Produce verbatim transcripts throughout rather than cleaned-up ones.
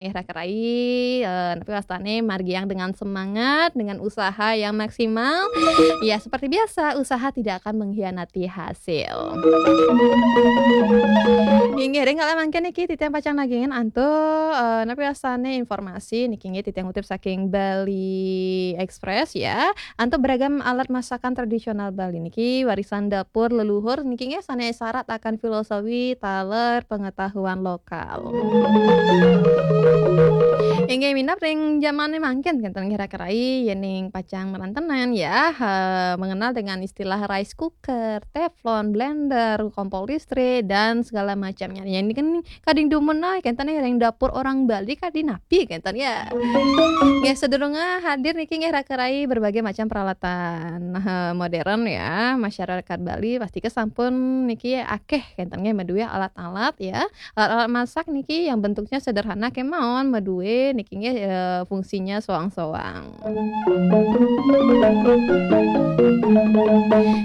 Nggih, Raka Rai, eh, napi wastane margiang dengan semangat, dengan usaha yang maksimal. Ya, seperti biasa, usaha tidak akan mengkhianati hasil. Inggih, ring kala mangkin niki titiang pacang nagingin antuk, eh, napi wastane informasi niki nggih titiang kutip saking Bali Express ya. Antuk beragam alat masakan tradisional Bali niki warisan dapur leluhur niki nggih sane syarat akan filosofi taler pengetahuan lokal. Inggih minab ring jamane mangkin kenten nggih Raka Rai yening pacang marantenan ya, eh, mengenal dengan istilah rice cooker, teflon, blender, kompor listrik dan segala macamnya. Ya ini kan kading dumun ai kenten ya ring dapur orang Bali kadi napi kenten ya. Nggih sadurunge hadir niki nggih Raka Rai berbagai macam peralatan, eh, modern ya. Masyarakat Bali pasti kesampun niki akeh kenten nggih madue alat-alat ya. Alat-alat masak niki yang bentuknya sederhana kemawon madue niki nggih, eh, fungsinya soang-soang.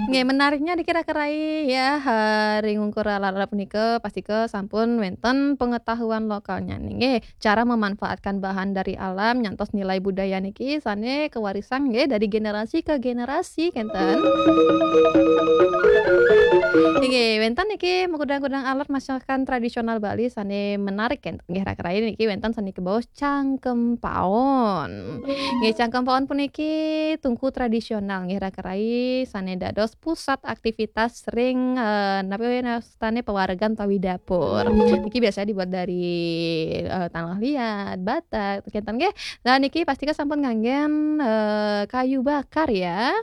Nggih, menariknya niki Raka Rai ya, eh, ring ungkur alat-alat punika pasti kesampun wenten pengetahuan lokalnya nih. Nggih, cara memanfaatkan bahan dari alam nyantos nilai budaya niki sane kewarisan nggih dari generasi ke generasi kenten. Nggih, wenten niki makudang-kudang alat masakan tradisional Bali sane menarik kenten. Nggih, Raka Rai niki wenten sane kebaos cangkem paon. Nggih, cangkem paon puniki tungku tradisional nggih Raka Rai sane dados pusat aktivitas ring, eh, napi wastane pewaregan utawi dapur. Niki biasanya dibuat dari, eh, tanah liat, bata, kenten nggih. Nah, niki pastika sampun nganggen, eh, kayu bakar ya.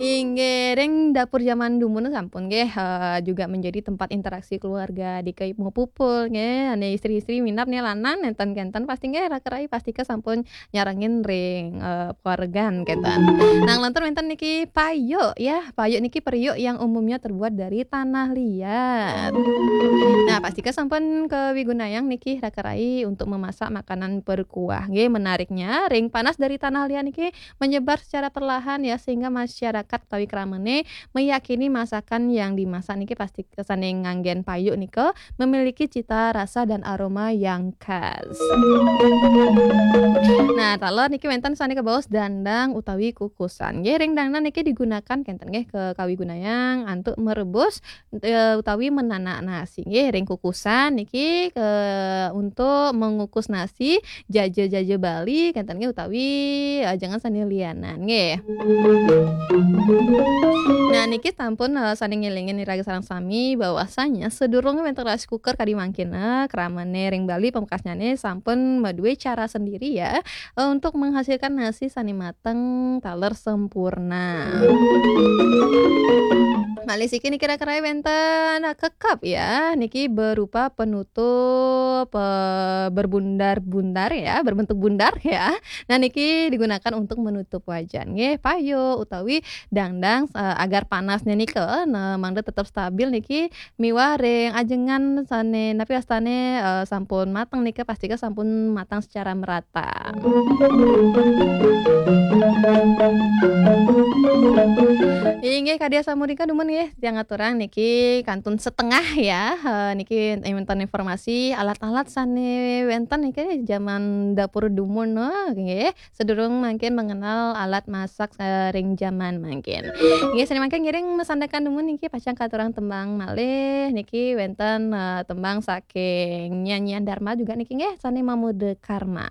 Inggih, ring dapur zaman dumun sampun nggih, eh, juga menjadi tempat interaksi keluarga, dike mupupul nggih, ane istri-istri minab nih lanang nenten kenten pasti nggih Raka Rai pastika sampun nyarengin ring, eh, keluargan kenten. Nah, lantur wenten niki payuk ya, payuk niki periuk yang umumnya terbuat dari tanah liat. Nah, pastika sampun kawigunayang niki Raka Rai untuk memasak makanan berkuah. Nggih, menariknya ring panas dari tanah liat niki menyebar secara perlahan ya, sehingga masyarakat utawi kramane meyakini masakan yang dimasak niki pasti kesane nganggen payuk nika memiliki cita rasa dan aroma yang khas. Nah, taler niki wenten sane kebaos dandang utawi kukusan. Nggih, ring dandang niki digunakan kenten nggih ke kawigunayang antuk merebus, eh, utawi menanak nasi. Nggih, ring kukusan niki ke untuk mengukus nasi, jaja-jaja Bali kenten nggih utawi, eh, jangan sane lianan nggih. Nah, niki sampun, eh, sane ngelingin iraga sareng sami bahwasanya sedurunge wenten rice cooker kadi mangkin, eh, kramane ring Bali pamekasnyane sampun madue cara sendiri ya, eh, untuk menghasilkan nasi sane mateng taler sempurna. Malih siki niki Raka Rai wenten, eh, kekep ya, niki berupa penutup, eh, berbundar-bundar ya, berbentuk bundar ya. Nah, niki digunakan untuk menutup wajan nggih, payuk utawi dandang, eh, agar panasnya nika, nah, mangda tetap stabil niki miwah ring ajengan sane napi wastane, eh, sampun mateng nika pastika sampun matang secara merata. Inggih, kadi asampun nika dumun nggih, tiang aturang niki kantun setengah ya. Eh, niki wenten informasi alat-alat sane wenten niki zaman dapur dumun, eh, nggih. Sedurung mangkin mengenal alat masak, eh, ring zaman mangkin. Nggih, sane mangkin ngiring masandekan dumun niki pacang katurang tembang malih. Niki wenten, eh, tembang saking Nyanyian Dharma juga niki nggih, sane Mamuda Karma.